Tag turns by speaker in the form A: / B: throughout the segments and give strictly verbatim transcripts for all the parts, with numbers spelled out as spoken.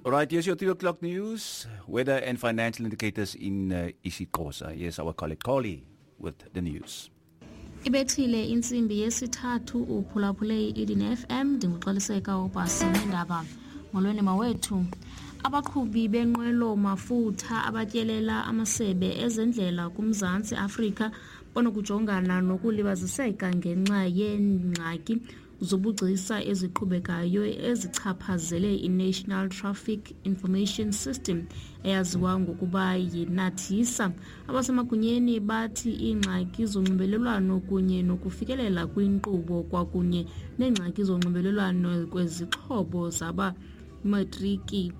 A: All right, here's your three o'clock news, weather and financial indicators in uh, isiXhosa. Here's our colleague Carly with the news.
B: Ibethile intsimbi yesithathu, uphulaphule i-Eden F M. Ndinguxoliseka ubhasi neendaba. Molweni mawethu. Abaqhubi benqwelo mafutha abatyelela amasebe ezendlela kuMzantsi Afrika banokujongana nokulibaziseka ngenxa yeengxaki zobugcisa eziqhubekayo ezichaphazele i-National Traffic Information System, eyaziwa ngokuba yiNaTISA. Abasemagunyeni bathi iingxaki zonxibelelwano kunye nokufikelela kwinkqubo kwakunye neengxaki zonxibelelwano kwezixhobo zaba matriki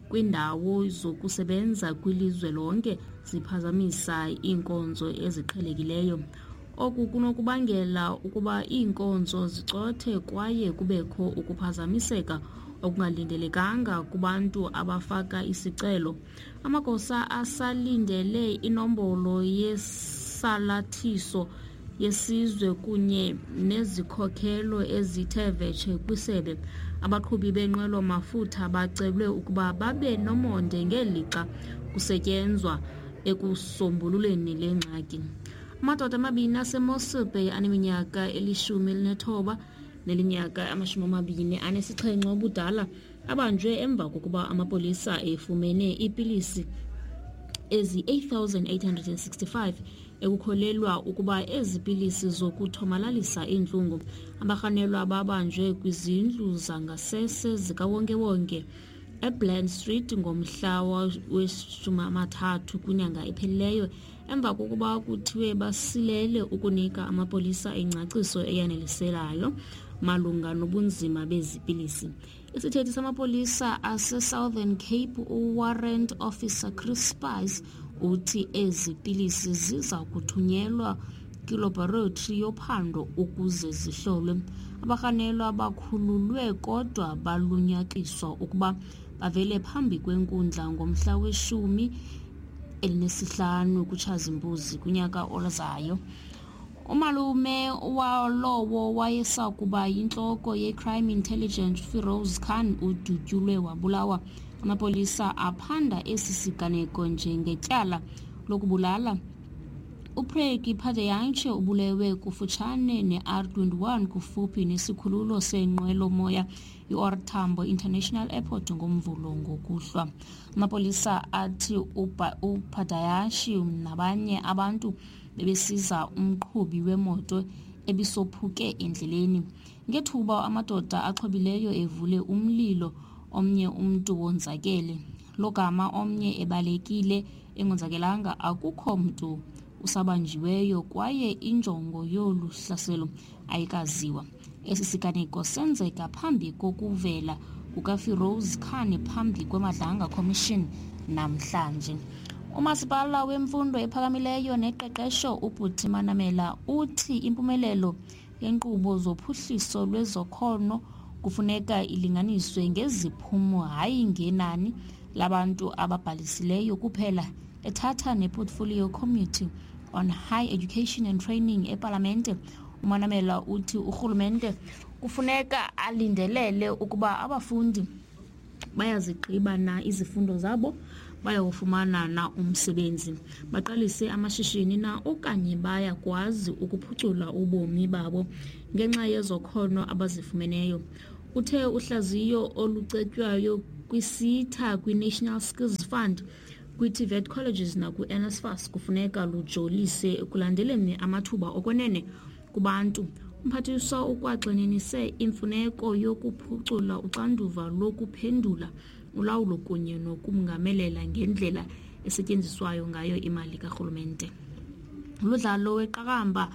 B: kwiindawo zokusebenza kwilizwe lonke ziphazamisa iinkonzo eziqhelekileyo. Oku kunokubangela ukuba iinkonzo zicothe kwaye kubekho ukuphazamiseka okungalindelekanga kubantu abafaka isicelo. Amagosa asalindele inombolo yesalathiso yesizwe kunye nezikhokelo ezithe vetshe kwisebe. Abaqhubi benqwelo mafutha bacelwe ukuba babe nomonde ngelixa kusetyenzwa ekusombululeni le ngxaki. Amadoda amabini aseMossel Bay aneminyaka elishumi elinethoba nelinyaka amashumi amabini anesixhenxe ubudala abanjwe emva kokuba amapolisa efumene iipilisi ezi-eight thousand eight hundred sixty-five ekukholelwa ukuba ezi pilisi zokuthomalalisa iintlungu. Abarhanelwa babanjwe kwizindlu zangasese zikawonkewonke eBland Street ngomhla weshumi amathathu kwinyanga ephelileyo emva kokuba kuthiwe basilele ukunika amapolisa ingcaciso eyaneliselayo malunga nobunzima bezi pilisi. Isithethi samapolisa ase-Southern Cape, uWarrant Officer Chris Spies, uthi ezi pilisi ziza kuthunyelwa kwilaboratory yophando ukuze zihlolwe. Abarhanelwa bakhululwe kodwa balunyakiswa ukuba bavele phambi kwenkundla ngomhla weshumi elinesihlanu kuTshazimpuzi kunyaka ozayo. Umalume walowo wayesakuba yintloko ye-Crime Intelligence, Firoz Khan, udutyulwe wabulawa. Amapolisa aphanda esi siganeko njengetyala lokubulala. UPreki Padayachee ubulewe kufutshane ne-R twenty-one kufuphi nesikhululo seenqwelomoya i-O R Tambo International Airport ngoMvulo ngokuhlwa. Amapolisa athi uPadayachee nabanye abantu bebesiza umqhubi wemoto ebisophuke endleleni ngethuba amadoda axhobileyo evule umlilo. Omnye umntu wonzakele, logama omnye ebalekile engonzakelanga. Akukho mntu usabanjiweyo kwaye injongo yolu hlaselo ayikaziwa. Esi siganeko senzeka phambi kokuvela kukaFiroz Khan phambi kweMadlanga Commission namhlanje. Umasipala wemfundo ephakamileyo neqeqesho, uButi Manamela, uthi impumelelo yenkqubo zophuhliso lwezakhono kufuneka ilinganiswe ngeziphumo, hayi ngenani labantu ababhalisileyo kuphela. Ethatha nePortfolio Committee on High Education and Training epalamente, uManamela uthi urhulumente kufuneka alindelele ukuba abafundi bayazigqiba na izifundo zabo, bayawufumana na umsebenzi, baqalise amashishini na okanye bayakwazi ukuphucula ubomi babo ngenxa yezakhono abazifumeneyo. Uthe uhlaziyo olucetywayo kwiSETA, kwi-National Skills Fund, kwi-TVET colleges nakwi-NSFAS kufuneka lujolise ekulandeleni amathuba okwenene kubantu. Umphathiswa ukwagxininise imfuneko yokuphucula uxanduva lokuphendula, ulawulo kunye nokungamelela ngendlela esetyenziswayo ngayo imali karhulumente. Umdlalo weqakamba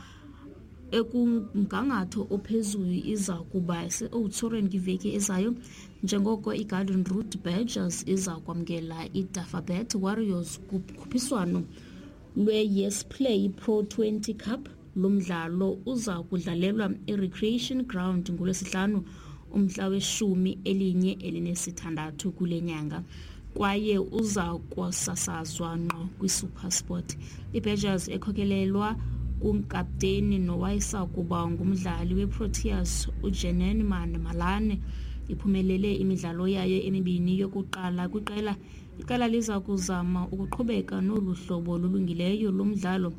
B: ekumgangatho ophezulu iza kuba se-Oudtshoorn kwiveki ezayo njengoko iGarden Route Badgers iza kwamkela iDafabet Warriors kukhuphiswano lwe-Yes Play Pro twenty Cup. Lo mdlalo uza kudlalelwa eRecreation Ground ngoLwesihlanu umhla weshumi elinye elinesithandathu kule nyanga kwaye uza kusasazwa ngqo kwiSuperSport. IBadgers, ekhokelelwa kunkapteni nowayesakuba ngumdlali weProteas uJenene Malan, Iphumelele imidlalo yayo emibini yokuqala kwiqela. Iqela liza kuzama ukuqhubeka nolu hlobo lulungileyo lomdlalo.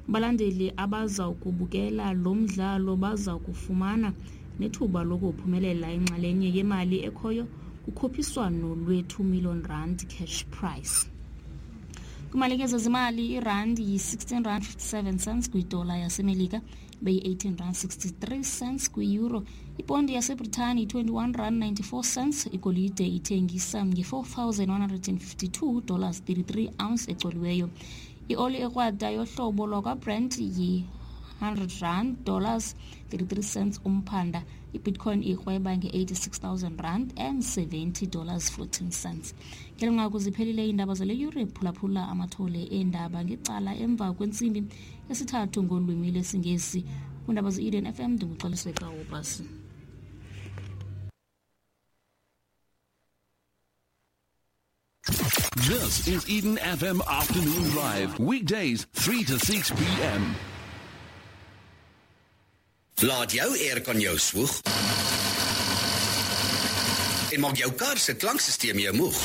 B: Abalandeli abaza kubukela lo mdlalo baza kufumana nethuba lokuphumelela inxalenye yemali ekhoyo kukhuphiswano lwe-two million rand cash prize. Kwimalike zezimali, irandi yi-sixteen rand fifty-seven cents kwidola yaseMelika, beyi-eighteen rand sixty-three cents kwi-euro. Ipondi yaseBritani yi-twenty-one rand ninety-four cents. Igolide ithengisa nge-four thousand one hundred and fifty-two dollars thirty-three ounce ecoliweyo. Ioli ekrwada yohlobo lwakwaBrent yi-hundred rand dollars thirty-three cents umphanda. I-Bitcoin ikrweba nge-eighty-six thousand rand and seventy dollars fourteen cents. Ngeli nqaku ziphelile iindaba zale yure. Phulaphula amathole eendaba ngecala emva kwentsimbi yesithathu ngolwimi lwesiNgesi. Kwiindaba ze-Eden F M ndinguXoliseka Wobasi.
C: This is Eden F M Afternoon Drive, weekdays three to six p m
D: Laat jou aircon jou swoeg en maak jou kar se klankstelsel jou moeg.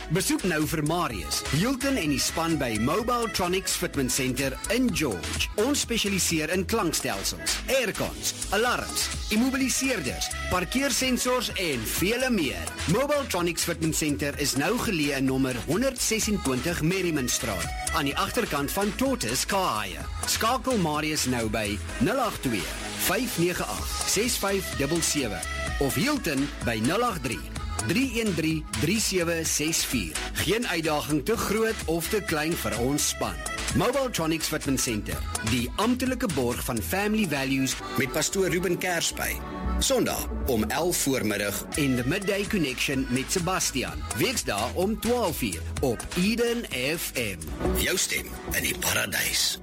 D: Besoek nou vir Marius, Hilton en die span by Mobiletronics Fitment Center in George. Ons spesialiseer in klankstelsels, aircons, alarms, immobiliseerders, parkeersensors en vele meer. Mobiletronics Fitment Center is nou geleë in nommer honderd ses-en-twintig Merriman Straat, aan die agterkant van Tortoise Car Hire. Skakel Marius nou by nul agt twee, vyf nege agt, ses vyf dubbel sewe of Hilton by nul agt drie, drie een drie, drie sewe ses vier. Geen uitdaging te groot of te klein vir ons span. Mobiletronics Fitment Center, die amptelike borg van Family Values met pastoor Ruben Kersby. Sondag om elf voormiddag en The Midday Connection met Sebastian. Weksdae om twaalf uur op Eden F M. Jou stem in die paradys.